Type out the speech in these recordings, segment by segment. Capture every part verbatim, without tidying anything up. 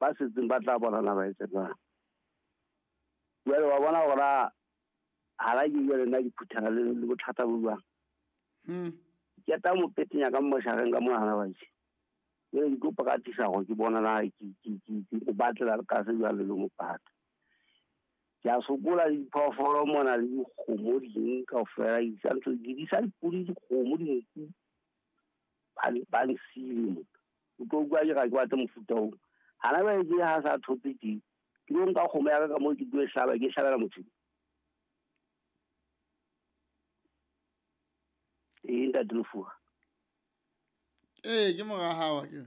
Ba setseng ba tla bona na ba etse jwang. Jwale wa bona hore ha ke jwale nna ke phuthana le le bothata bo jwang. Hmm. Ke ta mo petenya ka moshareng ka mona ba itse. Jwale ke kopa ka tisa hore ke bona na ke ke ke ke batlela ka se jwale le mo pata. Ke a sokola diphoofolo mona le dikgomo ding kaofela, ke sa ntho ke di sa dipodi, dikgomo, dinku. Ba ba nsile mona. O tlo utlwa ke ga ke batle mofuta oo. Hana ba ke ha sa thotse ke ke lo nka kgomo ya ka ka moo ke tlo e hlaba, ke e hlabela motho. Ee, ntate Lefuwa. Ee, ke mora hao ke.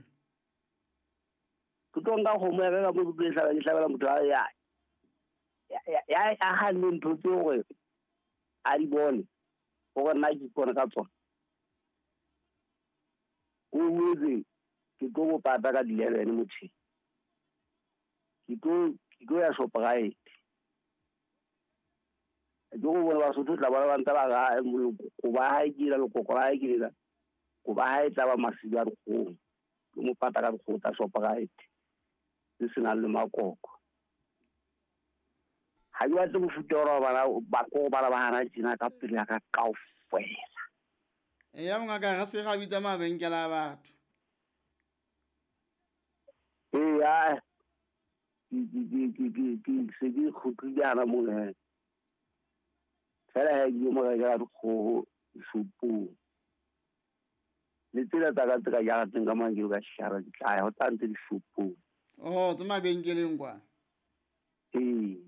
Ke tlo nka kgomo ya ka ka moo ke tlo e hlaba, ke hlabela motho a ya ya ya ya hanne ntho tseo hore a di bone hore nna ke ipone ka tsona. O boetse ke tlo mo pata ka di-eleven motjheng. Ke tlo ke tlo ya Shoprite. Ke go bona Basotho tla bona ba ntse ba ga ko ba hae ke ela lekoko la hae ke lela. Ko ba hae tla ba masiba a dikgomo. Ke mo pata ka dikgomo tsa Shoprite tse senang le makoko. Ha ke batle mofuta wa bana ba ko bana ba hana tjena ka pele ya ka kaofela. Eya mongaka, re se ga bitsa mabenkele a batho. Eya, ke ke ke ke ke ke se ke kgutlile hana mona he. Fela he ke mo rekela dikgoho shopong. Le tsela tsa ka tse ka jarateng ka mane ke ka shara ke tla ya ho tla ntse dishopong. Oh, tse mabenkeleng kwa. Ee.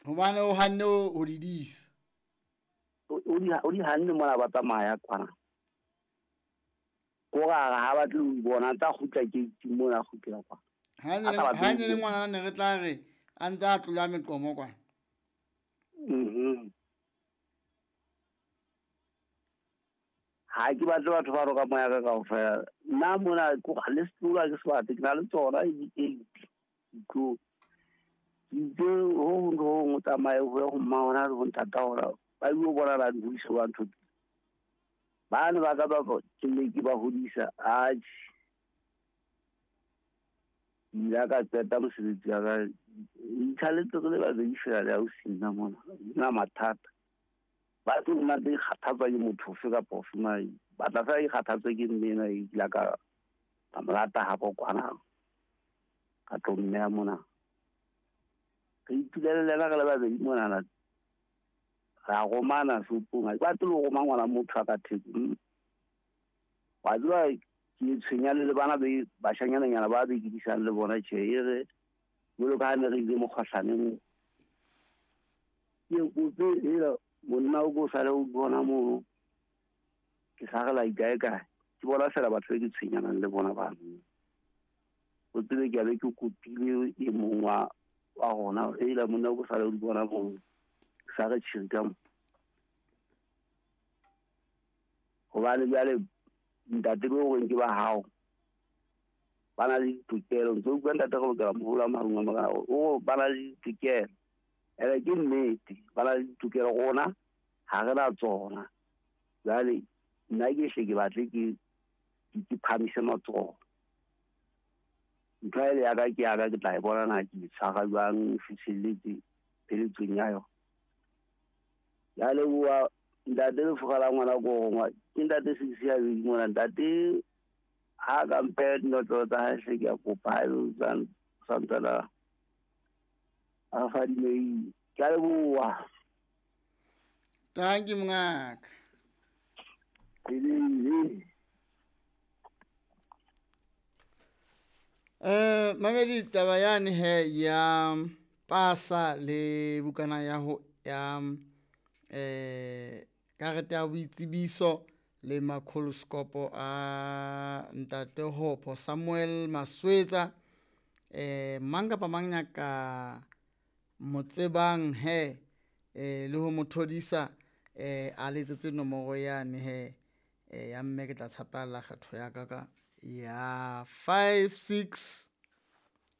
Hobane o hanne ho di disa. O di o di hanne mona ba tsamaya kwana. Ko ra ha ba tle ho bona tsa kgutla ke mona kgutlela kwa. Ha ne ha ne le ngwana ne re tla re a ntse a tlola meqomo kwa. Mhm. Ha ke batle batho ba roka moya ka kaofela. Nna mona ko le setula ke se batle, ke na le tsona di eight. Ditlo. Itse ho hong ho hong o tsamaye ho ye ho mma hona le ho ntata hona. Ba ile bona la di hodisa ba ntho. Ba ne ba ka ba ke ne ke ba hodisa. Atjhe. Ile ka qeta mosebetsi wa ka. Ithaletse re le babedi fela le ausi nna mona. Nna mathata. Ba tlo nna tse kgathatswa ke motho ofe kapa ofe mare ba tla fela ikgathatswe ke mme ena e kila ka ka mo lata hapo kwana. Ka tlo mmeha mona. Re itulele le yena re le babedi monana. Ra romana shopong. Ha ke batle ho roma ngwana motho a ka theko. Wa tseba ke tshwenya le le bana be bashanyananyana ba be ke disang le bona tjhe e re jwalo ka ha ne re ile mokgohlaneng. Ke kope hela monna o ko sale o bona mono. Ke sa re la ikae kae. Ke bona fela batho be ke tshwenyanang le bona bano. O tsebe ke a be ke kopile e mong wa wa rona hela monna o ko sale o bona mono. Ke sa re tjhiri ka mo. Hobane jwale ntate bo reng ke ba hao. Ba na le ditokelo. Ntse o utlwa ntate re lokela moholo a marung a morao. O ba na le ditokelo. Ene ke nnete, ba na le ditokelo rona ha re na tsona. Jwale nna ke hle ke batle ke ke phamise matsoho. Ntho ele ya ka ke ya ka ke tla e bona na ke tshwara jwang fihlelletse pheletsong ya yona. Ya leboha ntate Lefuga la ngwana ko rongwa. Ke ntate Six ya bedi mona. Ntate ha ka mphe dinotlolo tsa hae hle ke a kopa ha ebe o santsana a fadimehile. Ke a leboha. Thank you mongaka. Eh mamedi taba yane he ya pasa le bukana ya ho ya eh karete ya boitsebiso le makholoskopo a ntate Hopo Samuel Maswetsa eh mang kapa mang ya ka motsebang he eh le ho mothodisa eh a letsetse nomoro yane he eh ya mme ke tla tshapalla kgetho ya ka ka ya five six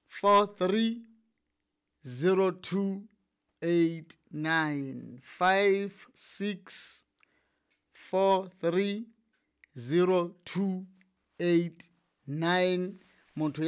four three zero two eight nine five six four three zero two eight nine. Motho ya